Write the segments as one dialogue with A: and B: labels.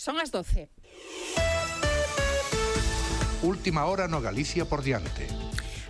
A: Son as 12.
B: Última hora no Galicia por diante.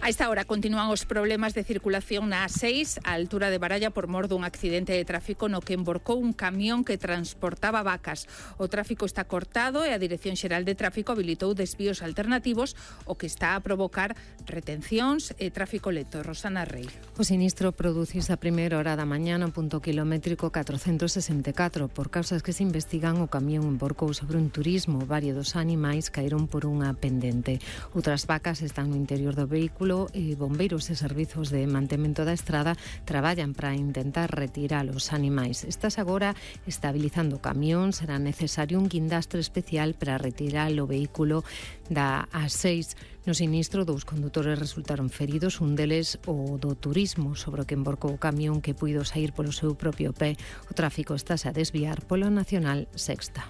A: A esta hora continúan os problemas de circulación na A6, á altura de Baralla, por mor dun accidente de tráfico no que emborcou un camión que transportaba vacas. O tráfico está cortado e a Dirección Xeral de Tráfico habilitou desvíos alternativos, o que está a provocar retencións e tráfico lento. Rosana Rey.
C: O sinistro produciuse a primeira hora da mañá no punto kilométrico 464. Por causas que se investigan, o camión emborcou sobre un turismo. Varios dos animais caeron por unha pendente. Outras vacas están no interior do vehículo e bombeiros e servizos de mantemento da estrada traballan para intentar retirar os animais. Estás agora estabilizando o camión, será necesario un guindastre especial para retirar o vehículo da A6. No sinistro, 2 condutores resultaron feridos, un deles o do turismo, sobre o que emborcou o camión, que puido sair polo seu propio pé. O tráfico estase a desviar polo Nacional Sexta.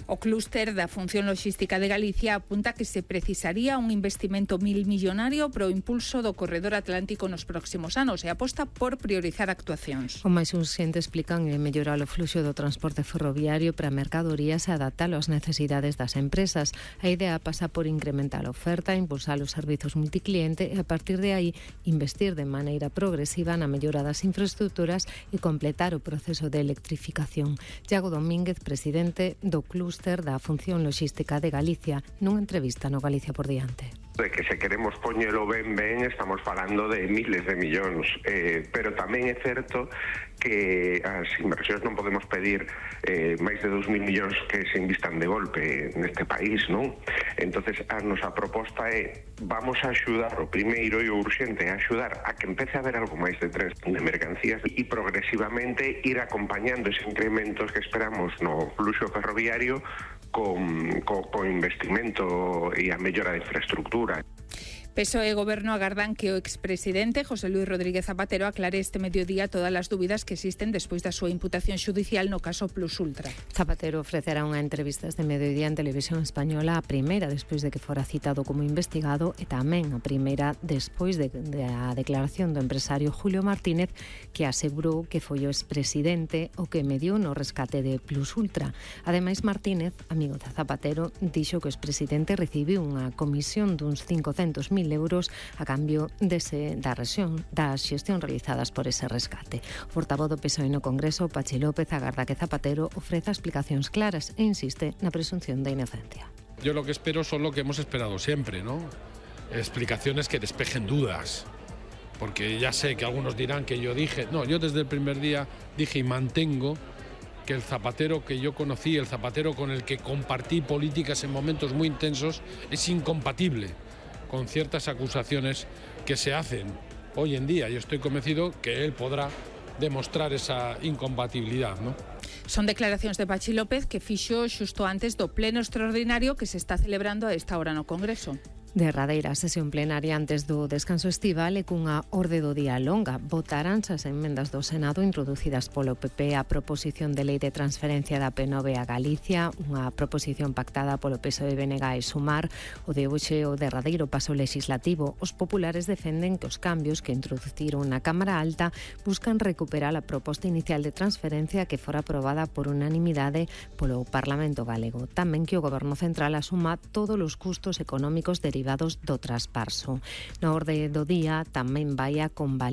A: O clúster da Función Logística de Galicia apunta que se precisaría un investimento millonario para o impulso do corredor atlántico nos próximos anos e aposta por priorizar actuacións.
C: O máis urxente, explican, é mellorar o fluxo do transporte ferroviario para mercadorías e adaptalo ás necesidades das empresas. A idea pasa por incrementar a oferta, impulsar os servizos multicliente e, a partir de aí, investir de maneira progresiva na mellora das infraestructuras e completar o proceso de electrificación. Iago Domínguez, presidente do clúster da Función Logística de Galicia, nunha entrevista no Galicia por diante.
D: De que se queremos poñelo ben, estamos falando de miles de millóns, pero tamén é certo que as inversións non podemos pedir máis de 2.000 millóns que se invistan de golpe neste país, non? Entonces a nosa proposta é, vamos a axudar, o primeiro e o urxente é axudar a que empece a haber algo máis de tren de mercancías e progresivamente ir acompañando ese incrementos que esperamos no fluxo ferroviario con investimento e a mellora de infraestructura.
A: PSOE e Goberno agardan que o expresidente José Luis Rodríguez Zapatero aclare este mediodía todas as dúbidas que existen despois da súa imputación xudicial no caso Plus Ultra.
C: Zapatero ofrecerá unha entrevista este mediodía en Televisión Española, a primeira despois de que fora citado como investigado e tamén a primeira despois da declaración do empresario Julio Martínez, que asegurou que foi o expresidente o que mediou no rescate de Plus Ultra. Ademais, Martínez, amigo de Zapatero, dixo que o expresidente recibiu unha comisión duns 500.000 euros a cambio das xestión realizadas por ese rescate. O portavoz do PSOE no Congreso, Pachi López, agarda que Zapatero ofreza explicacións claras e insiste na presunción de inocencia.
E: Yo lo que espero son lo que hemos esperado siempre, ¿no? Explicaciones que despejen dudas. Porque ya sé que algunos dirán que yo dije... No, yo desde el primer día dije y mantengo que el Zapatero que yo conocí, el Zapatero con el que compartí políticas en momentos muy intensos, es incompatible con ciertas acusaciones que se hacen hoy en día. Yo estoy convencido que él podrá demostrar esa incompatibilidad, ¿no?
A: Son declaracións de Pachi López que fixo xusto antes do pleno extraordinario que se está celebrando a esta hora no Congreso.
C: Derradeira sesión plenaria antes do descanso estival e cunha orde do día longa. Votaránse as emendas do Senado introducidas polo PP a proposición de lei de transferencia da P9 a Galicia, unha proposición pactada polo PSOE, BNG e Sumar. O de hoxe, o derradeiro paso legislativo. Os populares defenden que os cambios que introduciron na Cámara Alta buscan recuperar a proposta inicial de transferencia que fora aprobada por unanimidade polo Parlamento galego. Tamén que o Goberno Central asuma todos os custos económicos derivados do traspaso. Na orde do día tamén vai a convalidar